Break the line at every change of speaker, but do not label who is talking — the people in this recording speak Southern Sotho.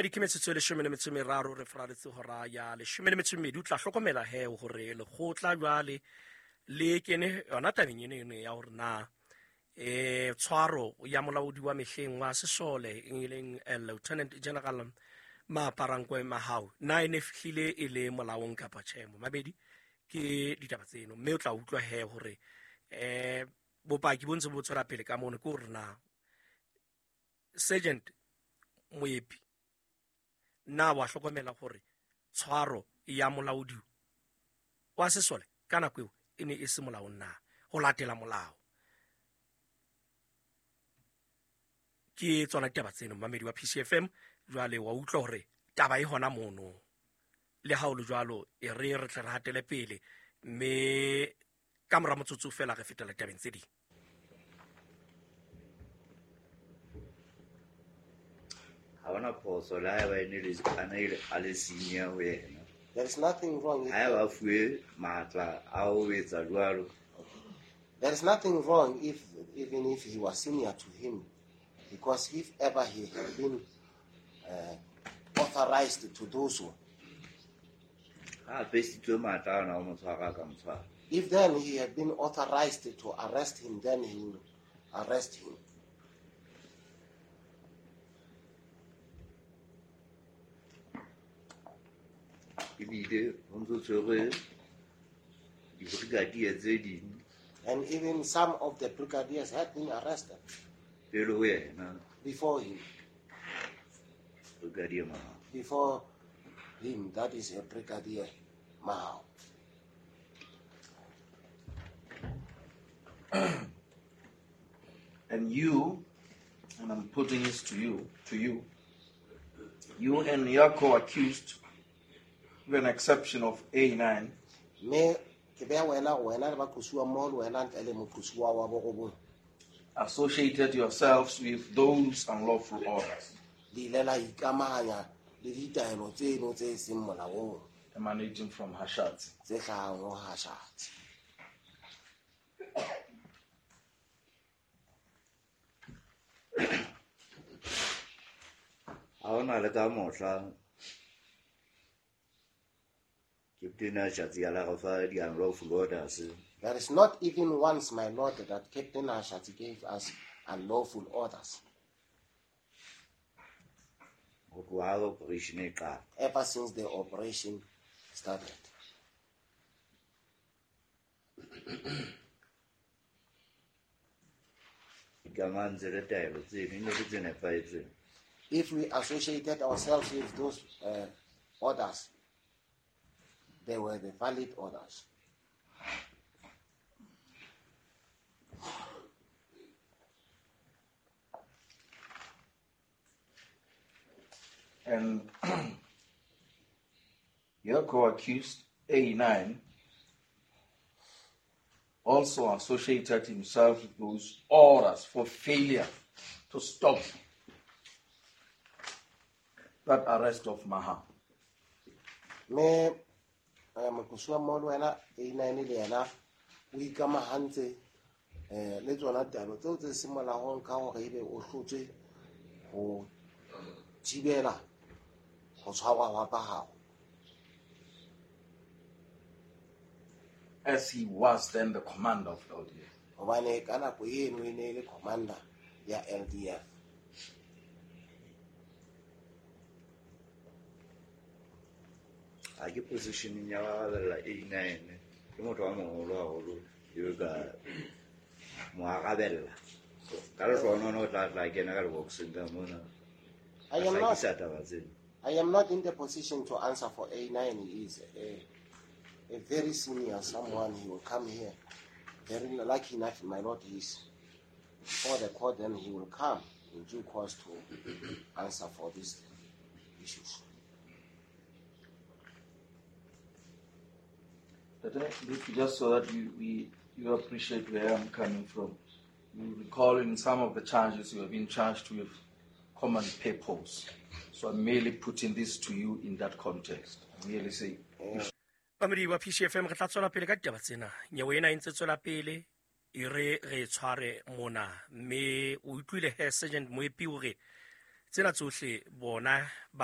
Mamedi, ke metsotso e 13 re faraletse hora ya 12. O tla hlokomela he hore lekgotla jwale le kene yona tabeng eno eno ya hore na tshwaro ya molaodi wa mehleng wa sesole e leng Lieutenant General Maaparankoe Mahao na e ne fihlile e le molaong kapa tjhe. Mamedi, ke ditaba tseno, mme o tla utlwa he hore bopaki bo ntse bo tswela pele ka mono ke hore na Sergeant Moepi na wa hlokomela hore tshwaro ya molaodi wa sesole ka nako eo e ne e se molaong na ho latela molao. Ke tsona ditaba tseno, mamedi wa PCFM. Jwale wa utlwa hore taba e hona mono, le ha o le jwalo e re re tle re hatele pele, mme ka mora motsotso fela re fetela tabeng tse ding.
Ha hona phoso le haeba e ne le a ne a le senior ho yena.
There is nothing wrong with
Haeba a fuwe matla a ho etsa jwalo.
There is nothing wrong if even if he was senior to him, because if ever he had been authorized to do so.
Ha a pesitswe matla ana ho mo tshwara, a ka mo tshwara.
If then he had been authorized to arrest him, then he will arrest him.
Ebile ho ntso tshwerwe di-brigadier tse ding.
And even some of the brigadiers had been arrested.
Pele ho yena.
Before him.
Brigadier Mahao.
Before him, that is a Brigadier Mahao.
And you, and I'm putting this to you, you and your co-accused, with an exception of A9,
Me ke beha wena, wena le baqosuwa mmoho le wena ntle le moqosuwa wa borobong.
associated yourselves with those unlawful orders.
Le ile la ikamahanya le ditaelo tseno tse seng molaong.
Emanating from Hashatsi.
Tse hlahang ho Hashatsi.
Ha hona le ka mohla Captain Hashatsi a la re fa di-unlawful orders.
There is not even once, my lord, that Captain Hashatsi gave us unlawful orders.
Ho tloha ha operation e qala.
Ever since the operation started.
Ikamantse le taelo tseno, e ne le tse nepahetseng.
If we associated ourselves with those orders, they were the valid orders.
And your co-accused, A9, also associated himself with those orders for failure to stop that arrest of Mahao.
Me, moqosuwa mmoho le wena, A9 le yena, o ikamahantse, le tsona taelo tseo tse seng molaong ka hore ebe o hlotswe ho thibela ho tshwarwa hwa Mahao.
As he was then the commander of LDF.
Hobane ka nako eno e ne e le commander ya LDF.
Ha ke positioning ya arabella A9, ke motho wa moholo haholo eo ka mo arabella. Ka lehlohonolo o tla tla kena ka lebokseng ka mona.
I am not,
Hlakisa taba tsena.
I am not in the position to answer for A9. He is a very senior someone. He will come here. Very lucky enough, my lord, he is before the court, then he will come in due course to answer for these issues.
Just so that you appreciate where I'm coming from, you recall in some of the charges you have been charged with common purpose. So I'm merely putting this to you in that context. I'm merely saying.
Bamedi wa PCFM, re tla tswela pele ka ditaba tsena. Nyewe ena e ntse tswela pele, e re re tshware mona. Mme o utlwile he Sergeant Moepi hore tsena tsohle bona ba ne